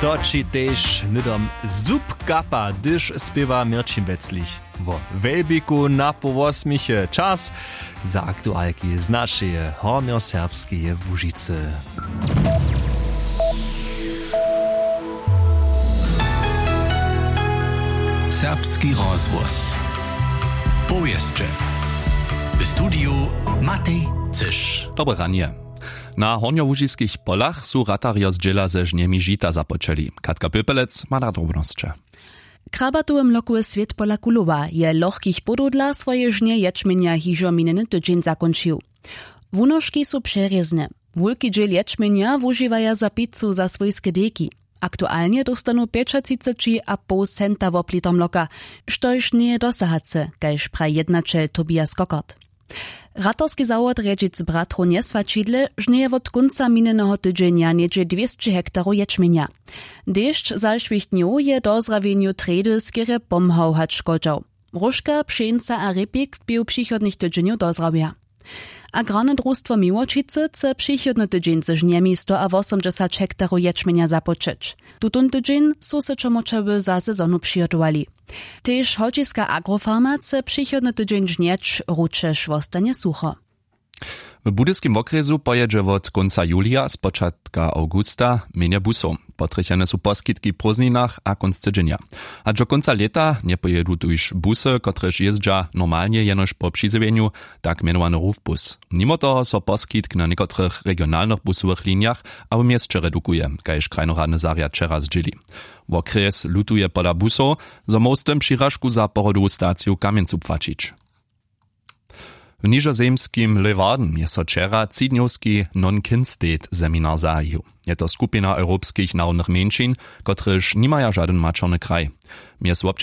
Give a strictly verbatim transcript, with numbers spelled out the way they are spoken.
To ći tež hnydom zub kapa, hdyž spěwa Měrćin Weclich wo wjelbikej na połosměchy. Čas za aktualki z našeje hornjoserbskeje Łužicy. Serbski rozhłos. Powěsće. W studiju Matej Cyš. Dobre ranje. Na hornjołužiskich polach su ratarjo z dźěla ze žnjemi žita započeli. Katka Pěpelec ma na drobnosće. Krabatowy mlokły swět pola Kulowa je lochkich podow dla swoje žnje ječmjenja hižo minjeny tydźeń zakónčił. Wunožki su přerězne. Wulki dźěl ječmjenja wužiwaja za picu za swójske dejki. Aktualnje dóstanu pjećatřiceći a poł centa wopliter mloka, štož njeje dosahace, kaž praji jednaćel Tobias Kokart. Ratarski zawod rjedźic bratrow njeswaćidle žnjeje wot kónca minjeneho tydźenja něhdźe dwěsće hektarow ječmjenja. Dešć zašłych dnjow je dozrawjenju trjedy skerje pomhał hač škodźał. Róžka, pšeńca a rěpik bě w přichodnych tydźenjow dozrawja. Agrarne drustwo Miłočicy chce přichodny tydźeń ze žnjemi sto a wosomdźesać hektarow ječmjenja započeć. Tutón tydźeń su se čomorčawy za sezonu přihotowali. Tež holčiska agrofarma chce přichodny tydźeń žnjeć, ručež wostanje sucho. W budyskim wokrjesu pojědźe wot kónca julija spočatka awgusta mjenje busow. Potrjechene su poskitki w prózdninach a kónc tydźenja. Hač do kónca lěta njepojědu tuž busy, kotrež jězdźa normalnje jenož po přizjewjenju, tak mjenowany rufbus. Nimo toho so poskitk na někotrych regionalnych busowych linijach a w měsće redukuje, kaž krajnoradny zarjad wčera zdźěli. Wokrjes lutuje pola busow, zo móhł z tym přiražku za pohodowu staciju w Kamjencu płaćić. W nižozemskim Leeuwarden je so wčera třidnjowski non-kin-state seminar zahajił. Je to skupina europskich narodnych mjeńšin, kotrež nimaja žadyn maćerny kraj. Mjez